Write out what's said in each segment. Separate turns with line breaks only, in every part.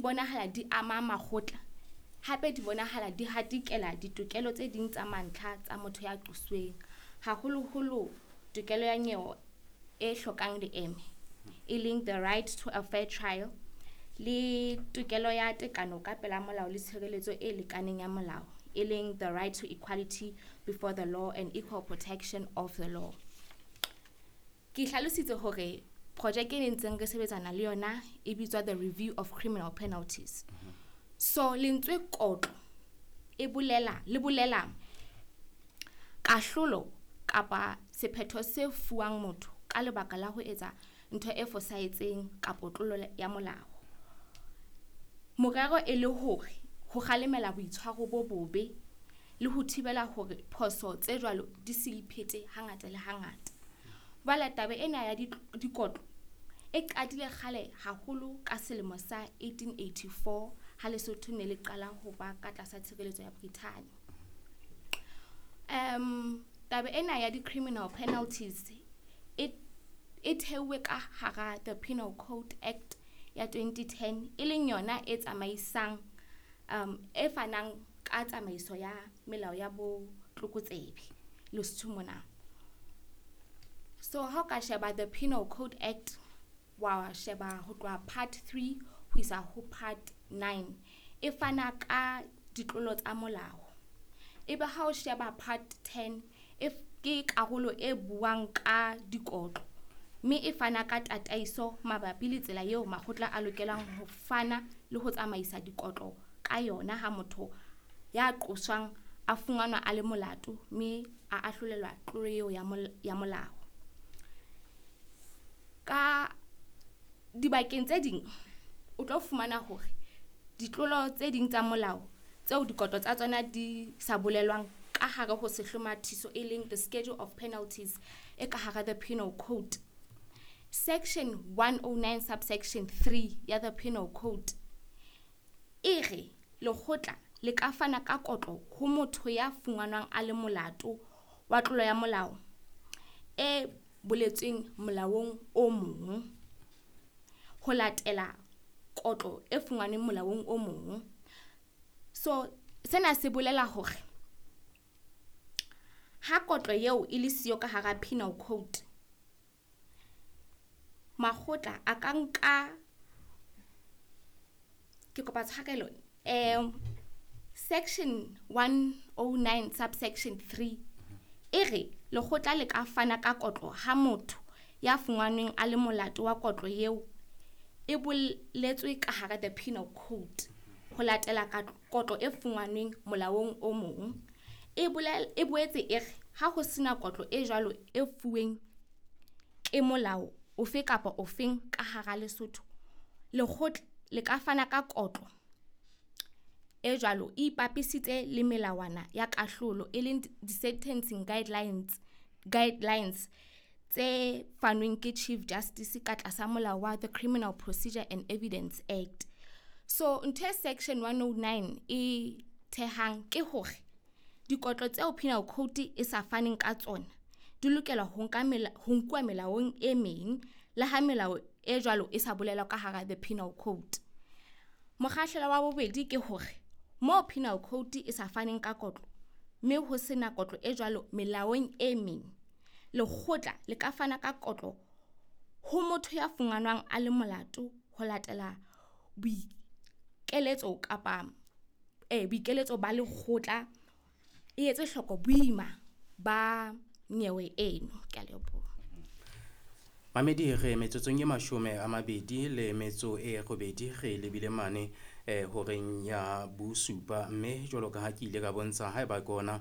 bonahala di ama makgotla, hape di bonahala di hatikela ditokelo tse ding tsa mantlha tsa motho ya qosuweng, haholoholo tokelo ya nyewe e hlokang leeme, e leng the right to a fair trial, le tokelo ya tekano ka pela molao le tshireletso e lekaneng ya molao, e leng the right to equality before the law and equal protection of the law. Ke hlalositse hore projeke e ntseng re sebetsana le yona e bitswa the review of criminal penalties. So lentswe kotlo e bolela le bolela kahlolo kapa sephetho se fuwang motho ka lebaka la ho etsa ntho e fosahetseng kapa tlolo ya molao. Morero e le hore ho kgalemela boitshwaro bo bobe le ho thibela hore phoso tse jwalo di se iphete hangata le hangata. Jwale taba ena ya dikotlo e qadile kgale haholo ka selemo sa 1884 ha Lesotho ne le qala ho ba ka tlasa tshireletso ya Brithani. Taba ena ya di-criminal penalties e theuwe ka hara the Penal Code Act ya 2010, e leng yona e tsamaisang e fanang ka tsamaiso ya melao ya botlokotsebe Lesotho mona. So ha o ka sheba the Penal Code Act, wa sheba ho tloha part 3 ho isa ho part 9, e fana ka ditlolo tsa molao. Ebe ha o sheba part 10, e ke karolo e buang ka dikotlo, mme e fana ka tataiso mabapi le tsela eo makgotla a lokelang ho fana le ho tsamaisa dikotlo ka yona ha motho ya qoswang a fumanwa a le molato mme a ahlolelwa tlolo eo ya molao. Ka dibakeng tse ding o tlo fumana hore ditlolo tse ding tsa molao tseo dikotlo tsa tsona di sa bolelwang ka hare ho sehlomathiso, e leng the schedule of penalties e ka hara the Penal Code. Section 109 subsection 3 ya the Penal Code e re lekgotla le ka fana ka kotlo ho motho ya fumanwang a le molato wa tlolo ya molao e boletsweng molaong o mong, ho latela kotlo e fumanweng molaong o mong. So sena se bolela hore ha kotlo eo e le siyo ka hara Penal Code, makgotla a ka nka, ke kopa tshwarelo, section 109 subsection 3 e re lekgotla le ka fana ka kotlo ha motho ya fumanweng a le molato wa kotlo eo e boletswe ka hara the Penal Code, ho latela ka kotlo e fumanweng molaong o mong. E boetse e re ha ho sena kotlo e jwalo e fuweng ke molao ofe kapa ofeng ka hara Lesotho, lekgotla le ka fana ka kotlo e jwalo e ipapisitse le melawana ya kahlolo, e leng di-sentencing guidelines tse fanweng ke Chief Justice ka tlasa molao wa the Criminal Procedure and Evidence Act. So ntho e section 109 e thehang ke hore dikotlo tseo Penal Code e sa faneng ka tsona di lokela ho nkuwa melaong e meng, le ha melao e jwalo e sa bolelwa ka hara the Penal Code. Mokgahlelo wa bobedi ke hore moo Penal Code e sa faneng ka kotlo mme ho sena kotlo e jwalo melaong e meng, lekgotla le ka fana ka kotlo ho motho ya fumanwang a le molato ho latela boikeletso kapa boikeletso ba lekgotla, e etse hloko boima ba nyewe eno. Ke a leboha.
Mamedi, re metsotsong e 28 re lebile mane horeng ya bosupa, mme jwalo ka ha ke ile ka bontsha haeba ke ona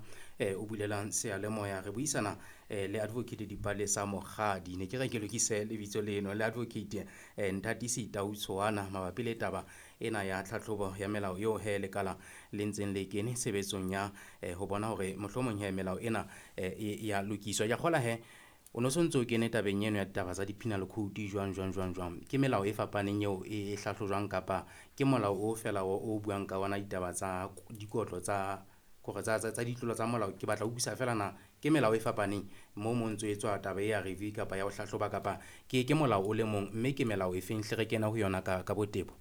o bulelang seyalemoya, re buisana le Advocate Dipalesa Mokgadi. Ne ke re ke lokise lebitso leno, le Advocate Nthatisi Tautshoana mabapi le taba ena ya tlhatlhobo ya melao eo he lekala le ntseng le kene tshebetsong ya ho bona hore mohlomong he melao ena e ya lokiswa. Ke a kgola he o no sontso o kene tabeng eno ya ditaba tsa di-penal code jwang jwang jwang jwang. Ke melao e fapaneng eo e hlahlojwang kapa ke molao o fela o buang ka ona ditaba tsa dikotlo tsa kore tsa ditlolo tsa molao? Ke batla ho utlwisisa fela na ke melao e fapaneng mo mo ntso etswa taba e ya review kapa ya ho hlahloba, kapa ke molao o le mong, mme ke melao e feng hle re kena ho yona ka botebo?